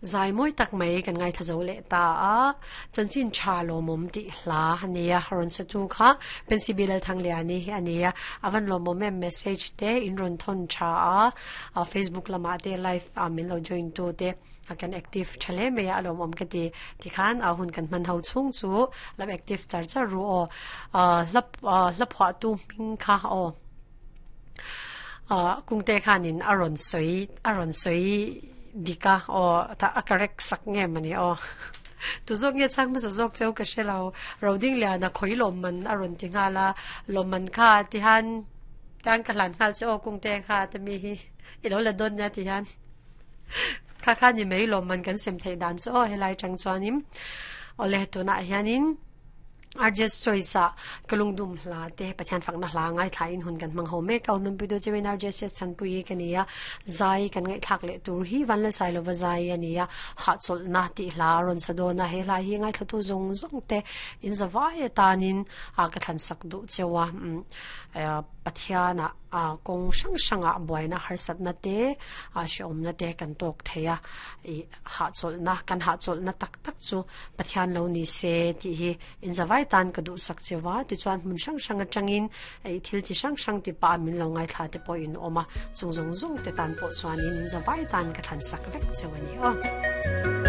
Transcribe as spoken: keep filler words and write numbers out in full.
Zai mawi tak mai kan ngaithla zo leh ta a, chanchin tha lawmawm tih hla a nia, rawn sa tu kha Pensibil Lalthangliani hi a nia, a van lawmawm em message te in rawn thawn tha a, Facebook lamah te live a min lo join tu te a kan active tha hle mai a, a lawmawm ka ti tikhan a hun kan hman ho chhung chu lam active char char ru aw, hla hla phuah tu hming kha aw. Kungte khanin a rawn sawi a rawn sawi dik a aw ta a correct sak nge mawni aw tu zawk nge chhang hmasa zawk cheu ka hre lo roding liana khawi lawmman a rawn ti nghal a lawmman kha ti hian tan ka hlan nghal che aw kungte kha te mi hi i lo la dawn nia ti hian kha kha ni mai lawmman kan sem theih dan chu aw helai tang chuanin awle tunah hianin R J Choice ah ka lungdum hla te Pathian fakna hla ngaithla in hun kan hmang ho mek a, Nunpui tu chuan R J S Chhanpui ka ni a, zai kan ngaihthlak leh tur hi Vanlalsai lova zai a ni a, hahchawlhna tih hla a rawn sa dawn a, he hla hi ngaithlatu zawng zawng te in zavai atanin a ka thlansak duh cheu a, Pathian ah kawng hrang hrang ah buaina harsatna te hrehawmna te kan tawk thei a, ih hahchawlhna kan hahchawlhna tak tak chu Pathian lo ni se tih hi inzavai tan ka duhsak che va, tichuan hmun hrang hrang atangin ih thil chi hrang hrang ti pah min lo ngaithla te pawh in awm a, chung zawng zawng te tan pawh chuanin inzavai tan ka thlansak vek cheu a ni aw.